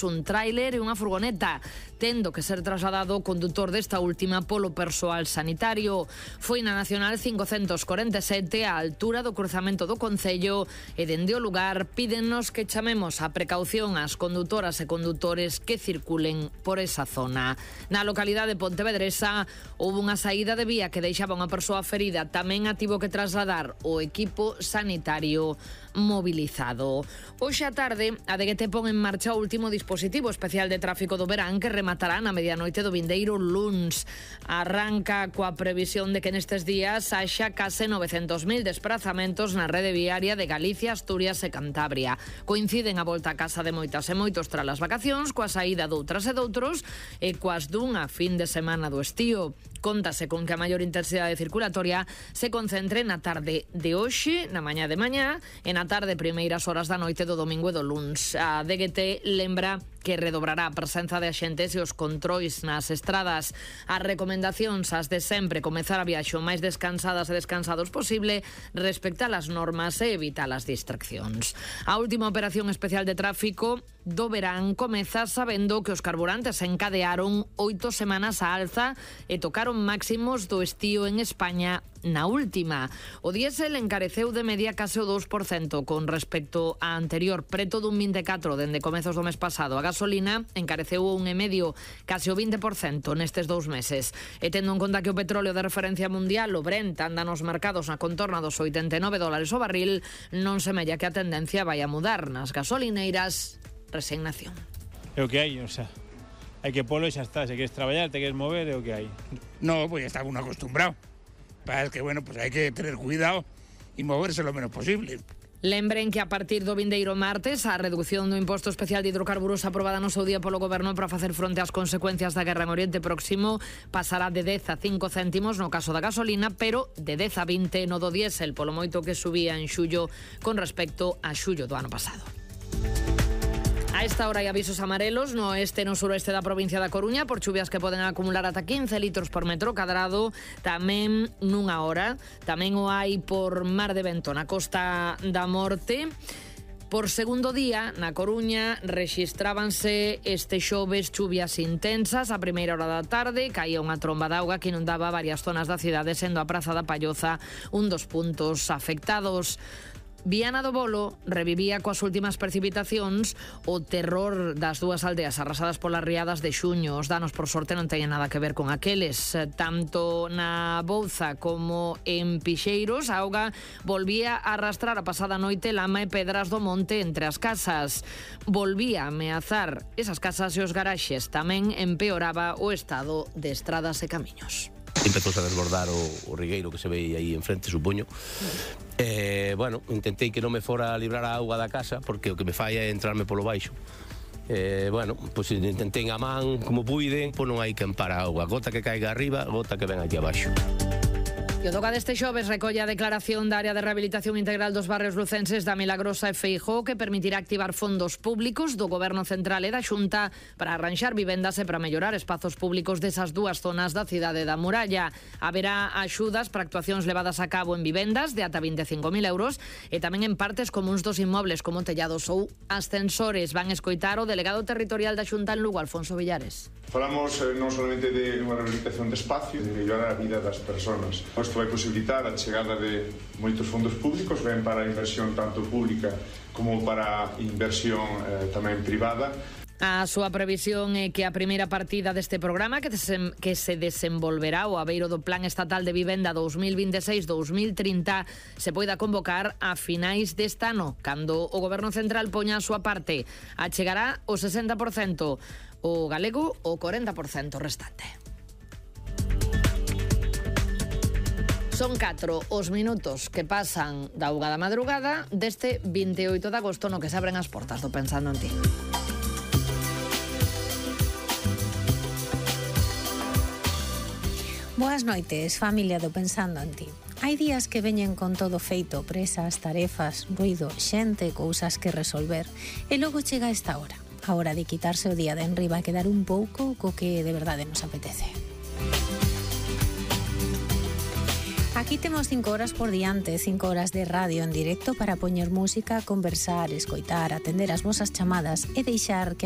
un tráiler e unha furgoneta, tendo que ser trasladado o condutor desta última polo persoal sanitario. Foi na Nacional 547 á altura do cruzamento do Concello e dende o lugar pídennos que chamemos a precaución ás condutoras e condutores que circulen por esa zona. Na localidade de Pontevedresa houve unha saída de vía que deixaba unha persoa ferida, tamén a tivo que trasladar o equipo sanitario mobilizado. Hoxe á tarde, a DGT pon en marcha o último dispositivo especial de tráfico do verán que rematará na medianoite do vindeiro luns. Arranca coa previsión de que nestes días haxa case 900.000 desplazamentos na rede viaria de Galicia, Asturias e Cantabria. Coinciden a volta a casa de moitas e moitos tras as vacacións, coa saída doutras e doutros e coas dunha fin de semana do estío. Contase con que a maior intensidade circulatoria se concentre na tarde de hoxe, na mañá de mañá e na tarde primeiras horas da noite do domingo e do luns. A DGT lembra que redobrará a presenza de axentes e os controis nas estradas. As recomendacións as de sempre, comezar a viaxe o máis descansadas e descansados posible, respectar as normas e evitar as distraccións. A última operación especial de tráfico do verán comeza sabendo que os carburantes encadearon 8 semanas á alza e tocaron máximos do estío en España na última. O diésel encareceu de media case o 2% con respecto á anterior, preto dun 24% dende comezos do mes pasado. A gasolina encareceu un 1,5%, case o 20% nestes 2 meses. E tendo en conta que o petróleo de referencia mundial, o Brent, anda nos mercados na contorna dos $89 o barril, non semella que a tendencia vai a mudar. Nas gasolineiras, resignación. É o que hai, o sea, hai que polo e xa está. Se queres traballar, te queres mover, é o que hai. No, pues ya está uno acostumbrado. Es que, bueno, pues hay que tener cuidado y moverse lo menos posible. Lembren que a partir do vindeiro martes a reducción do imposto especial de hidrocarburos aprobada no seu día polo Goberno para facer fronte ás consecuencias da guerra en Oriente Próximo pasará de 10 a 5 céntimos no caso da gasolina, pero de 10 a 20 no do diésel, polo moito que subía en xullo con respecto a xullo do ano pasado. A esta hora hai avisos amarelos no oeste e no suroeste da provincia da Coruña por chuvias que poden acumular ata 15 litros por metro cadrado tamén nunha hora. Tamén o hai por mar de vento na Costa da Morte. Por segundo día, na Coruña, rexistrábanse este xoves chuvias intensas. A primeira hora da tarde caía unha tromba de auga que inundaba varias zonas da cidade, sendo a Praza da Palloza un dos puntos afectados. Viana do Bolo revivía coas últimas precipitacións o terror das dúas aldeas arrasadas polas riadas de xuño. Os danos, por sorte, non teñen nada que ver con aqueles. Tanto na Bouza como en Pixeiros, a auga volvía a arrastrar a pasada noite lama e pedras do monte entre as casas. Volvía a ameazar esas casas e os garaxes. Tamén empeoraba o estado de estradas e camiños. Empezou a desbordar o rigueiro que se ve aí enfrente, supoño. Bueno, intentei que non me fora a librar a auga da casa, porque o que me fai é entrarme polo baixo. Bueno, pois intentei a man como puiden, pois non hai que amparar a auga. Gota que caiga arriba, gota que ven aquí abaixo. E o toca deste xoves recolle a declaración da área de rehabilitación integral dos barrios lucenses da Milagrosa e Feijóo que permitirá activar fondos públicos do Goberno Central e da Xunta para arranxar vivendas e para mellorar espazos públicos desas dúas zonas da cidade da Muralla. Haberá axudas para actuacións levadas a cabo en vivendas de ata 25.000 euros e tamén en partes comuns dos inmobles como tellados ou ascensores. Van escoitar o delegado territorial da Xunta en Lugo, Alfonso Villares. Falamos non solamente de unha rehabilitación de espacio, de mellorar a vida das persoas. Isto vai posibilitar a chegada de moitos fondos públicos, ben para a inversión tanto pública como para a inversión tamén privada. A súa previsión é que a primeira partida deste programa que se desenvolverá o abeiro do Plan Estatal de Vivenda 2026-2030 se poida convocar a finais deste ano, cando o Goberno Central poña a súa parte. Achegará o 60%, o galego o 40% restante. Son 4 os minutos que pasan da 1 da madrugada deste 28 de agosto no que se abren as portas do Pensando en Ti. Boas noites, familia do Pensando en Ti. Hai días que veñen con todo feito, presas, tarefas, ruido, xente, cousas que resolver. E logo chega esta hora, a hora de quitarse o día de enriba e quedar un pouco co que de verdade nos apetece. Aquí temos 5 horas por diante, 5 horas de radio en directo para poñer música, conversar, escoitar, atender as vosas chamadas e deixar que a